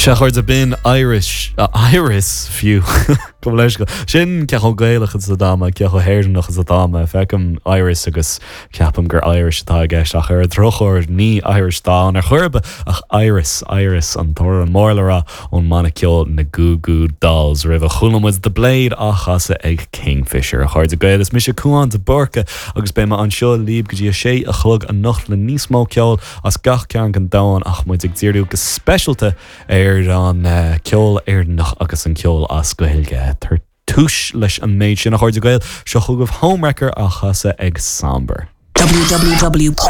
Sea, a chairde, b'in Irish, Iris fiú, gabh mo leithscéal. Sin cé chomh Gaelach is atá mé, cé chomh hÉireannach is atá mé. Feicim Iris agus ceapaim gur Irish atá i gceist ach ar an drochuair ní Irish atá ann ar chor ar bith ach Iris, Iris an t-amhrán mór le rá ón mbanna ceoil na Goo Goo Dolls. Roimhe chuala muid The Blade á chasadh ag Kingfisher. A chairde Gael, is mise Cúán de Búrca agus beidh mé anseo libh go dtí a sé a chlog anocht le níos mó ceoil as gach cearn den domhan ach muid ag díriú go speisialta ar an ceol Éireannach agus an ceol as Gaeilge. Tar tús leis an méid sin, a chairde Gael, seo chugaibh Homewrecker á chasadh ag Sombre. www.rrr.ie.